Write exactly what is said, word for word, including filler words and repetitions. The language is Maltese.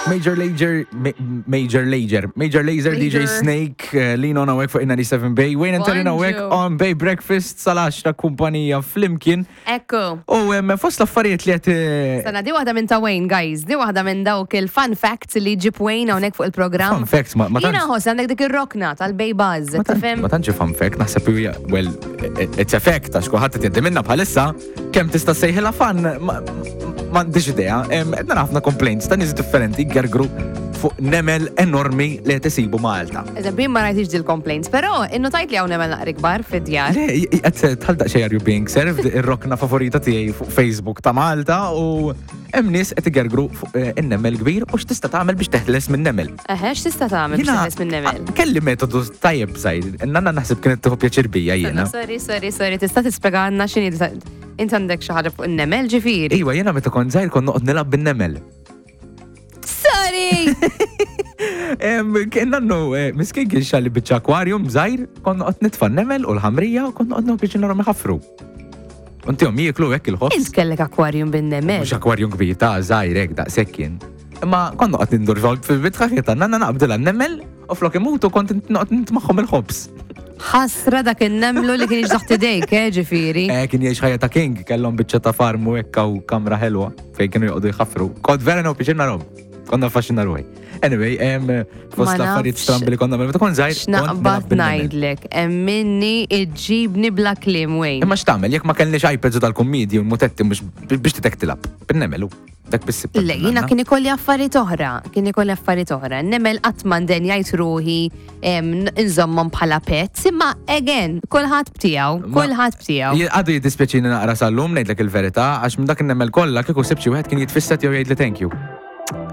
Major Lazer, Ma- Major Lazer, Major Lazer, D J Lazer. Snake, uh, Lean On hawnhekk fuq in-disgħa u sebgħin Bay, Wayne and Taryn hawnhekk Bonġu. on Bay Breakfast sal-għaxra kumpanija flimkien. Ekku. U um, fost l-affarijiet li qed eh, Sana, di waħda minn ta' Wayne, guys. Di waħda minn dawk il-fun facts li ġib Wayne hawnhekk fuq il-programm. Fun facts, ma- ma Jiena tantx- ħoss għandek dik ir-rokna tal-Bay Buzz, Ma tant- tifhem? Ma tantx fun fact, naħseb hija, well, it's a fact, għax kulħadd qed jgħaddi minna bħalissa, kemm tista' sejħilha fun, ma- m'għandix idea. Em, Qed nara ħafna complaints ta' nies differenti gergru fuq nemel enormi li qed isibu Malta. Eżempju, jien ma rajtix dil-complaints, però innotajt li hawn nemel naqra kbar fid-djar. Le, qed tħaldaq xejn are you being served, ir-rokna favorita tiegħi fuq Facebook ta' Malta, u hemm nies qed igergru fuq eh, in-nemel kbir u x'tista' tagħmel biex teħles minn nemel. Eħe, x'tista' tagħmel biex Jiena, teħles minn nemel? Kelli metodu tajjeb żgħir, nanna naħseb kienet tieħu pjaċir bija jiena. Sorry, sorry, sorry, tista' tispjegana x'inhi inti għandek xi ħaġa fuq in-nemel, ġifieri? Iwa, jiena meta kont żgħir kont noqgħod nilgħab bin-nemel. Sorry! Em, Kien nannu, eh, miskin kien xtrali biċċa aquarium żgħir, kont noqgħod nitfa' nemel u l-ħamrija u kont noqgħod noqgħod narahom iħaffru. Untihom jieklu hekk il-ħobż. Int kellek aquarium bin-nemel. Mhux aquarium kbir ta' żgħir hekk daqshekk kien. Imma kont noqgħod nindur fil-bitħa ta' nanna, naqbdilha n-nemel u flok imutu kont noqgħod nitmagħhom il-ħobż. Ħasra dak in-nemlu li kien taħt idejk, eh, ġifieri. Eh, kien jgħix ħajja ta' king, kellhom biċċa ta' farm u hekk u kamra ħelwa fejn kienu joqogħdu jħaffru. Kont vera nieħu pjaċir narahom. Konna affaxxina ruħi. Anyway, em, fost Ma l-affarijiet nafx strambi li konna meta kont żgħir, kont X'naqbad nilgħab bin-nemel. ngħidlek, emminni iġġibni bla kliem, Wayne. Imma x'tagħmel jekk ma kellniex iPads u tal-kummedji u l-mutetti mhux biex titek tilgħab? Bin-nemel u dak biss. Le, jiena kien ikolli affarijiet oħra, kien ikolli affarijiet oħra. Nemel qatt m'indenjajt ruħi em, nżommhom bħala pets, imma again, kulħadd btiegħu, Ma- kulħadd btiegħu. Għadu jiddispjaċini naqra sal-lum, ngħidlek il-verità, għax minn dak in-nemel kollha kieku sibt xi wieħed kien jitfisset jew jgħidli thank you.